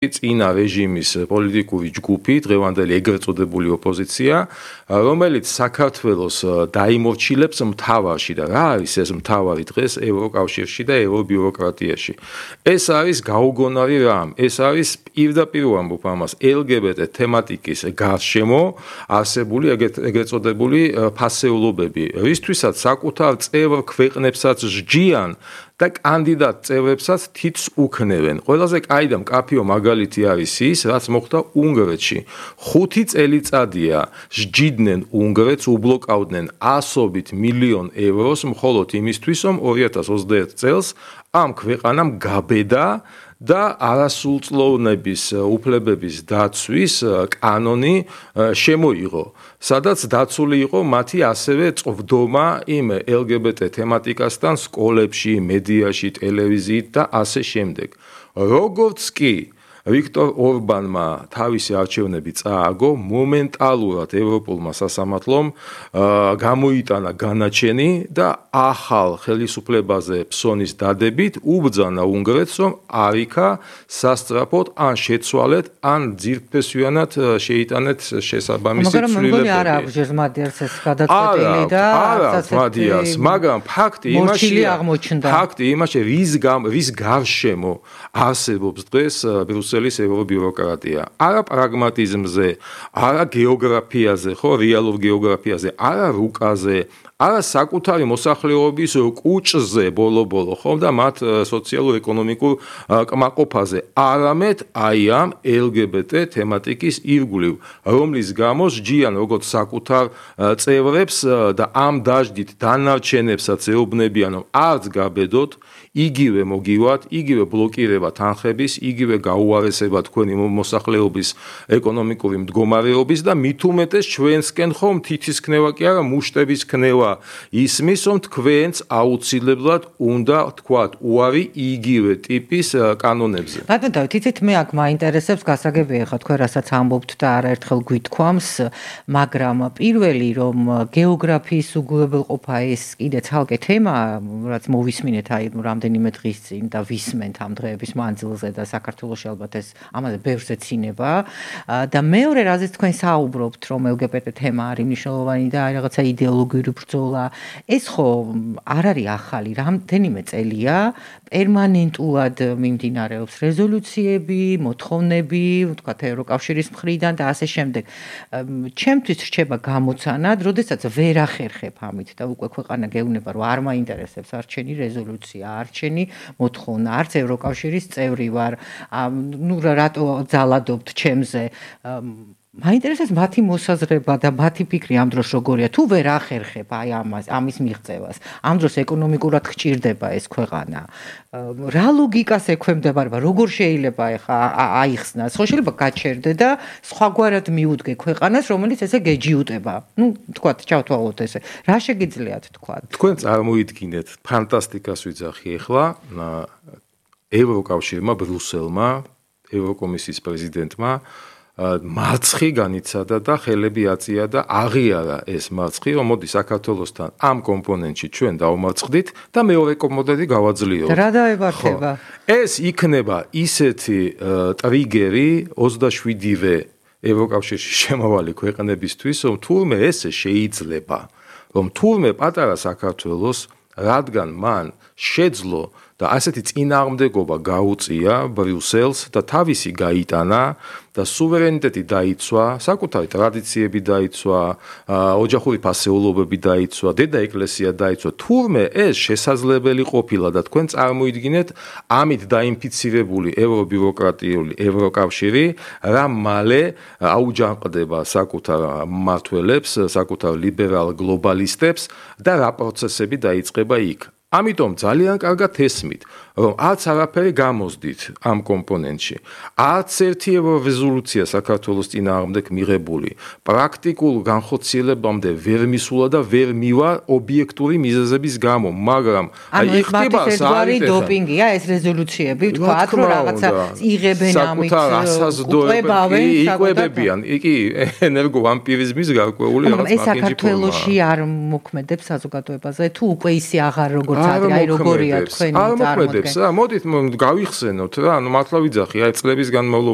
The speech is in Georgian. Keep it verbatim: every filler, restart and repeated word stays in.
წინა რეჟიმის პოლიტიკური ჯგუფი, დღევანდელი ეგრეთ წოდებული ოპოზიცია, რომელიც საქართველოს დაიმორჩილებს მთავარში და რა არის ეს მთავარი დღეს ევროკავშირში და ევრობიუროკრატიაში. ეს არის გაუგონარი რამ, ეს არის პირდაპირ ვამბობ ამას, ელ გი ბი ტე თემატიკის გარშემო არსებული ეგრეთ წოდებული ფასეულობები, რისთვისაც საკუთარ წევრ ქვეყნებსაც სჯიან და კანდიდატ წევრებსაც თითს უქნევენ. ყველაზე კაი და მკაფიო მაგალითი არის ის, რაც მოხდა უნგრეთში. ხუთი წელიწადია სჯიდნენ უნგრეთს, უბლოკავდნენ ასობით მილიონ ევროს მხოლოდ იმისთვის, რომ ორი ათას ოცდაერთ წელს ამ ქვეყანამ გაბედა და არასრულწლოვნების უფლებების დაცვის კანონი შემოიღო, სადაც დაცული იყო მათი ასევე წვდომა იმ ელ გი ბი ტე თემატიკასთან სკოლებში, მედიაში, ტელევიზიით და ასე შემდეგ. როგორც კი ვიქტორ ორბანმა თავისი არჩევნები წააგო, მომენტალურად ევროპულმა სასამართლომ გამოიტანა განაჩენი და ახალ ხელისუფლებაზე ფსონის დადებით უბრძანა უნგრეთს, რომ არ იქა სასწრაფოდ ან შეცვალეთ, ან ძირფესვიანად შეიტანეთ შესაბამისი ცვლილებები. მაგრამ მგონი არ აქვს ჟერმადიარს ეს გადაწყვეტილი და მადიას, მაგრამ ფაქტი იმაშია, ფაქტი იმაშია, რის რის გარშემო არსებობს დღეს ბრიუსელის ევრობიუროკრატია. არა პრაგმატიზმზე, არა გეოგრაფიაზე, ხო, რეალურ გეოგრაფიაზე, არა რუკაზე, არა საკუთარი მოსახლეობის კუჭზე ბოლო-ბოლო, ხო, და მათ სოციალურ-ეკონომიკურ კმაყოფაზე, არამედ აი ამ ელ გი ბი ტე თემატიკის ირგვლივ, რომლის გამო სჯიან როგორც საკუთარ წევრებს და ამ დაშდით დანარჩენებსაც ეუბნებიან, რომ არც გაბედოთ, იგივე მოგივათ, იგივე ბლოკირება თანხების, იგივე გაუარესება თქვენი მოსახლეობის ეკონომიკური მდგომარეობის და მით უმეტეს ჩვენსკენ ხომ თითის ქნება კი არა, მუშტების ქნება ისმის, რომ თქვენც აუცილებლად უნდა თქვათ უარი იგივე ტიპის კანონებზე. ბატონო დავით, იცით მე აქ მაინტერესებს გასაგებია ხა თქვენ რასაც ამბობთ და არაერთხელ გვითქვამს, მაგრამ პირველი რომ გეოგრაფიის უგულებელყოფა ეს კიდე ცალკე თემა, რაც მოვისმინეთ აი რამდენიმე დღის წინ და ვისმენთ ამ დღეების მანძილზე და საქართველოში ალბათ ეს ამაზე ბევრს ეცინება და მეორე რაზეც თქვენ საუბრობთ, რომ ელ გი ბი ტე თემა არის მნიშვნელოვანი და აი რაღაცა იდეოლოგიური ბრძოლა, ეს ხო არ არის ახალი, რამდენიმე წელია პერმანენტულად მიმდინარეობს რეზოლუციები, მოთხოვნები, ვთქვათ ევროკავშირის მხრიდან და ასე შემდეგ. ჩემთვის რჩება გამოცანად, როდესაც ვერ ახერხებ ამით და უკვე ქვეყანა გეუბნება, რომ არ მაინტერესებს არჩენი რეზოლუცია, არჩენი მოთხოვნა, არც ევროკავშირის წევრი ვარ, ნუ რატო ძალადობთ ჩემზე. მაინტერესებს მათი მოსაზრება და მათი ფიქრი ამ დროს როგორია, თუ ვერ ახერხებ აი ამას, ამის მიღწევას. ამ დროს ეკონომიკურად გჭირდება ეს ქვეყანა. რა ლოგიკას ექვემდებარება, როგორ შეიძლება ეხა აიხსნას? ხო შეიძლება გაჩერდე და სხვაგვარად მიუდგე ქვეყანას, რომელიც ესე გეჯიუტება. ნუ თქვათ, ჩავთვალოთ ესე. რა შეგიძლიათ თქვათ? თქვენ წარმოიდგინეთ, ფანტასტიკას ვიძახი ეხლა ევროკავშირმა, ბრიუსელმა, ევროკომისიის პრეზიდენტმა მარცხი განიცადა და ხელები აწია და აღიარა ეს მარცხი, რომ მოდი საქართველოსთან ამ კომპონენტში ჩვენ დავმარცხდით და მეორე კომპონენტი გავაძლიეროთ. რა დაებართება? ეს იქნება ისეთი ტრიგერი ოცდაშვიდივე ევროკავშირში შემავალი ქვეყნებისთვის, რომ თურმე ესე შეიძლება, რომ თურმე პატარა საქართველოს, რადგან მან შეძლო და ასეთი წინააღმდეგობა გაუწია ბრიუსელს და თავისი გაიტანა და სუვერენიტეტი დაიცვა, საკუთარი ტრადიციები დაიცვა, ოჯახური ფასეულობები დაიცვა, დედა ეკლესია დაიცვა. თურმე ეს შესაძლებელი ყოფილა და თქვენ წარმოიდგინეთ ამით დაინფიცირებული ევრობიუროკრატიული ევროკავშირი რა მალე აუჯანყდება საკუთარ მმართველებს, საკუთარ ლიბერალ გლობალისტებს და რა პროცესები დაიწყება იქ. ამიტომ ძალიან კარგად ესმით, რომ არც არაფერი გამოსდით ამ კომპონენტში. არც ერთი რეზოლუცია საქართველოს წინააღმდეგ მიღებული, პრაქტიკულ განხორციელებამდე ვერ მისულა და ვერ მივა ობიექტური მიზეზების გამო, მაგრამ აი ხდება საერთოდ დოპინგია ეს რეზოლუციები, თქვათ, რომ რაღაცა იღებენ ამით, უკლებავენ, იკვებებიან, იგი ენერგოვამპირიზმის გარკვეული რაღაც პაკეტი. ეს საქართველოში არ მოქმედებს საზოგადოებაზე, თუ უკვე ისე აღარ როგორ აი როგორია თქვენი წარმოდგენა. მოქმედებს რა. მოდით გავიხსენოთ რა, ანუ მართლა ვიძახი, აი წლების განმავლობაში